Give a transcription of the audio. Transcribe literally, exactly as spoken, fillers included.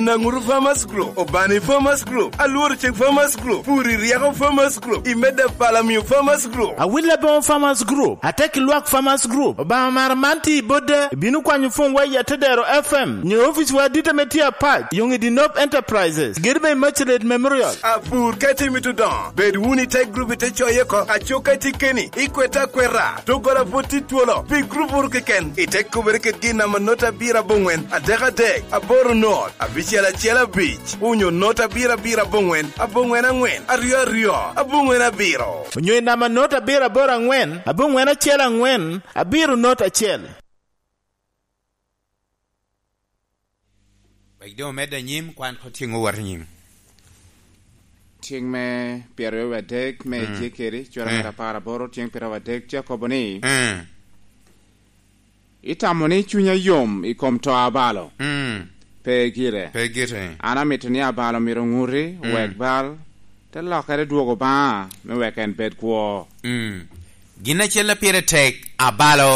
Naŋutu Farmers Group, Obani Farmers Group, Alworo Ceng Farmers Group, Puri Ryeko Farmers Group, i medda Palamio Farmers Group. Awil Aboŋo Farmers Group, Atek Lwak Farmers Group, Obaŋa mara man tye i Bodda, ibino kwanyo pwony wa i Atedero F M, nyo ofici wa adit ame tye apac, Yoŋ i Dinop Enterprises, gedo me Immaculate Memorial. Apur ka itimo i Tudoŋo, bed wunu i te gurup ite coye oko, acuk ka itye keni, ikwete akweta, doggola pwod tye twolo, pi gurup wunu keken, ite kubere kedgi i namba not abiro aboŋwen, adek adek, aboro not, abicel acel abic, onyo not abiro abiro aboŋwen, aboŋwen aŋwen, aryo aryo, aboŋwen abiro. Onyo i namba not abiro aboro aŋwen, aboŋwen acel aŋwen, abiro not acel. Wek doŋ omedde anyim, kwan ko tyeŋ owot anyim. Tyeŋ me pyeraryo wadek me Mm. Ejekeri, cura Mm. ŋat apar aboro, tyeŋ pyeraryo wadek, tye akobo ni, Mm. "Itamo ni cunya yom i kom to abalo? Mm. Pe gire. Pe gire. An amito ni abalo myero oŋuti, Mm. wek bal te lokere dwogo Obaŋa, me wek en bed kwo." Mm. Gin acel a pire tek, abalo